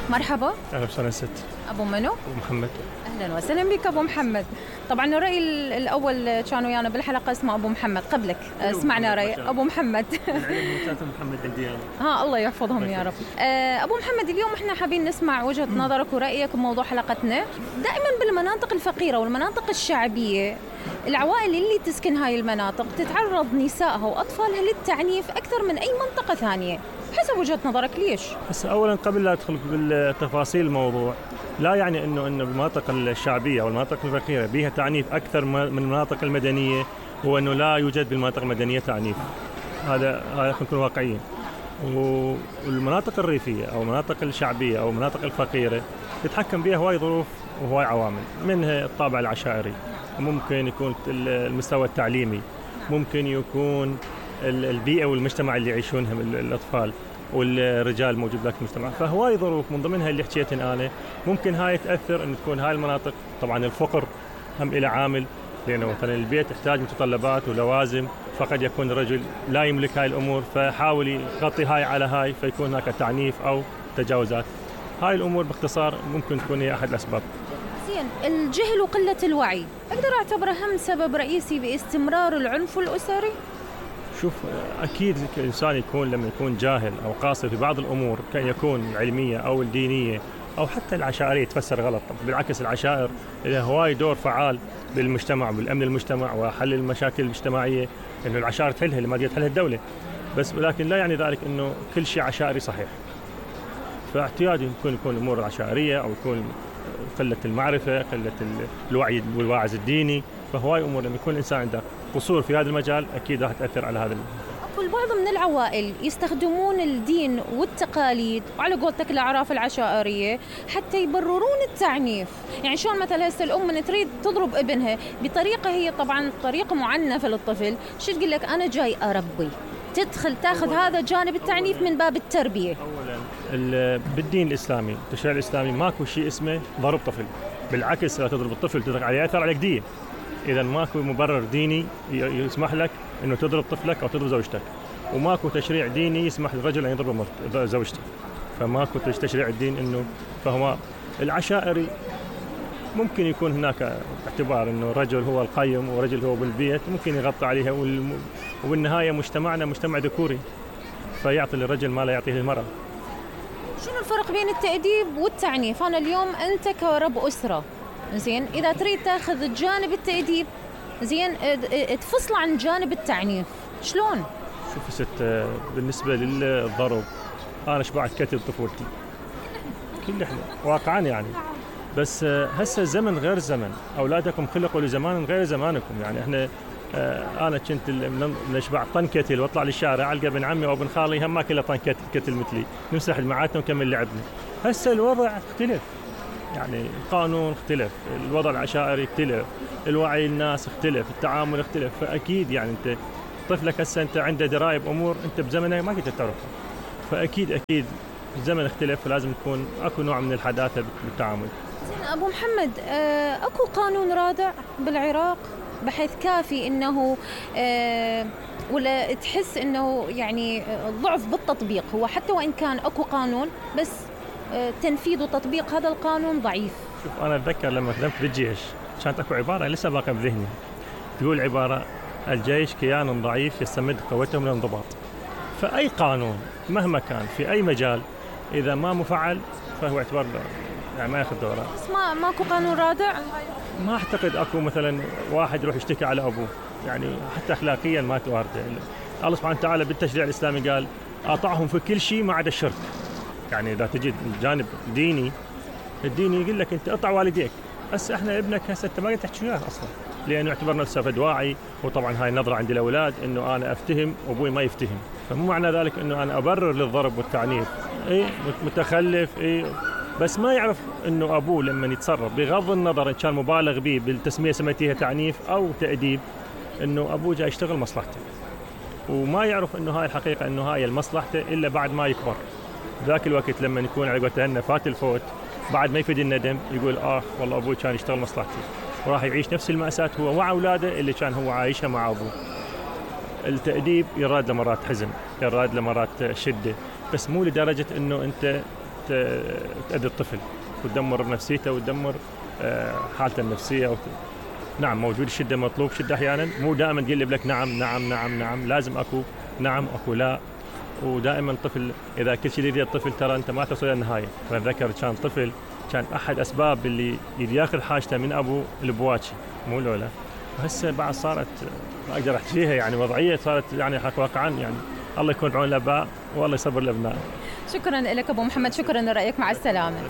مرحبا. أهلا وسهلا ست. أبو منو؟ أبو محمد. أهلا وسهلا بك أبو محمد. طبعا الرأي الأول كان ويانا بالحلقة اسمه أبو محمد قبلك. سمعنا رأي أبو محمد. محمد عندي أنا. الله يحفظهم يا رب. أبو محمد، اليوم احنا حابين نسمع وجهة نظرك ورأيك بموضوع حلقتنا. دائما بالمناطق الفقيرة والمناطق الشعبية العوائل اللي تسكن هاي المناطق تتعرض نسائها وأطفالها للتعنيف أكثر من أي منطقة ثانية. حسب وجهة نظرك ليش؟ بس أولا قبل لا أدخل بالتفاصيل الموضوع، لا يعني إنه المناطق الشعبية والمناطق الفقيرة بها تعنيف أكثر من المناطق المدنية، وإنه لا يوجد بالمناطق المدنية تعنيف. هذا نكون واقعيين. والمناطق الريفية أو المناطق الشعبية أو المناطق الفقيرة تتحكم بها هواي ظروف وهواي عوامل، منها الطابع العشائري، ممكن يكون المستوى التعليمي، ممكن يكون البيئة والمجتمع اللي يعيشونها الأطفال والرجال موجود لك المجتمع. فهواي ظروف من ضمنها اللي حكيتن أنا ممكن هاي تأثر أن تكون هاي المناطق. طبعا الفقر هم إلى عامل، لأنه مثلا البيت يحتاج متطلبات ولوازم، فقد يكون الرجل لا يملك هاي الأمور فيحاول يغطي هاي على هاي، فيكون هناك تعنيف أو تجاوزات. هاي الأمور باختصار ممكن تكون هي أحد الأسباب. زين، الجهل وقلة الوعي أقدر أعتبره هم سبب رئيسي باستمرار العنف الأسري؟ شوف، أكيد الإنسان يكون لما يكون جاهل أو قاصر في بعض الأمور، كان يكون العلمية أو الدينية أو حتى العشائرية تفسر غلط. بالعكس العشائر لها هواي دور فعال بالمجتمع بالأمن المجتمع وحل المشاكل الاجتماعية، إنه العشائر تحلها لما تحلها الدولة بس، ولكن لا يعني ذلك إنه كل شيء عشائري صحيح. فاعتيادي يكون الأمور العشائرية أو يكون قلة المعرفة، قلة الوعي والواعظ الديني. فهواي أمور لما يكون الإنسان عنده قصور في هذا المجال أكيد راح تأثر على هذا. البعض من العوائل يستخدمون الدين والتقاليد وعلى قولتك الأعراف العشائرية حتى يبررون التعنيف. يعني شلون مثلا هسه الأم من تريد تضرب ابنها بطريقة هي طبعا طريقة معنفة للطفل، شو تقول لك؟ أنا جاي أربي، تدخل تاخذ هذا جانب التعنيف من باب التربية. أولا بالدين الإسلامي التشريع الإسلامي ماكو شيء اسمه ضرب طفل، بالعكس لا تضرب الطفل تترك عليه أثر على قدية. إذا ماكو مبرر ديني يسمح لك إنه تضرب طفلك أو تضرب زوجتك، وماكو تشريع ديني يسمح للرجل أن يضرب زوجته. فماكو تشريع الدين إنه. فهو العشائري ممكن يكون هناك اعتبار إنه الرجل هو القيم ورجل هو بالبيت، ممكن يغطي عليها، وبالنهاية مجتمعنا مجتمع ذكوري فيعطي للرجل ما لا يعطيه للمرأة. شنو الفرق بين التأديب والتعنيف؟ أنا اليوم أنت كرب أسرة، زين، إذا تريد تأخذ جانب التأديب زين تفصل عن جانب التعنيف، شلون؟ شوف ست، بالنسبة للضرب أنا شبعت كتب طفولتي كل إحنا واقعا يعني. بس هسه الزمن غير زمن، أولادكم خلقوا لزمان غير زمانكم. يعني إحنا أنا كنت نشبع طن كتل واطلع للشارع ألقى ابن عمي وابن خالي هم ما كله طن كتل مثلي، نمسح المعاتنا ونكمل لعبنا. هسه الوضع اختلف، يعني القانون اختلف، الوضع العشائري اختلف، الوعي الناس اختلف، التعامل اختلف. فأكيد يعني أنت طفلك هسه أنت عنده دراية بأمور أنت بزمنك ما كنت تعرفها. فأكيد الزمن اختلف، فلازم يكون أكو نوع من الحداثة بالتعامل. أبو محمد، أكو قانون رادع بالعراق بحيث كافي إنه ولا تحس إنه يعني ضعف بالتطبيق؟ هو حتى وإن كان أكو قانون بس تنفيذ وتطبيق هذا القانون ضعيف. شوف، أنا أتذكر لما خدمت بالجيش كانت أكو عبارة لسه باقي بذهني، تقول عبارة: الجيش كيان ضعيف يستمد قوته من الانضباط. فأي قانون مهما كان في أي مجال إذا ما مفعل فهو اعتبار يعني ما ياخذ دوره. بس ماكو قانون رادع؟ ما أعتقد أكو مثلا واحد يروح يشتكي على أبوه، يعني حتى أخلاقيا ما توارده. الله سبحانه وتعالى بالتشريع الإسلامي قال: أطعهم في كل شيء ما عدا الشرك. يعني إذا تجد الجانب ديني، الديني يقول لك أنت أطع والديك. بس إحنا ابنك هسه أنت ما تحكي وياه أصلا، لأنه يعتبر نفسه فد واعي. وطبعا هاي النظرة عند الأولاد إنه أنا أفتهم وأبوي ما يفتهم، فمو معنى ذلك إنه أنا أبرر للضرب والتعنيف. متخلف بس ما يعرف إنه أبوه لما يتصرف بغض النظر إن كان مبالغ به بالتسمية سميتيها تعنيف أو تأديب، إنه أبوه جاي يشتغل مصلحته، وما يعرف إنه هاي الحقيقة إنه هاي مصلحته إلا بعد ما يكبر. ذاك الوقت لما يكون على قولتنا فات الفوت، بعد ما يفيد الندم يقول والله أبوي كان يشتغل مصلحتي، وراح يعيش نفس المأساة هو مع أولاده اللي كان هو عايشها مع أبوه. التأديب يراد لمرات حزن، يراد لمرات شدة، بس مو لدرجة إنه أنت تأذي الطفل وتدمر نفسيته وتدمر حالته النفسية. نعم موجود الشدة، مطلوب شدة أحيانا، مو دائما تقلب لك نعم نعم نعم نعم، لازم أكو نعم أكو لا. ودائما الطفل إذا كل شيء يريد الطفل ترى أنت ما تصل للنهاية. فالذكر كان طفل كان أحد أسباب اللي ياخذ حاجته من أبو البواتشي مو الأولى. وهسه بعد صارت ما أقدر أحكيها يعني وضعية صارت يعني واقعا يعني الله يكون عون الآباء والله يصبر الأبناء. شكرا لك أبو محمد، شكرا لرأيك، مع السلامة.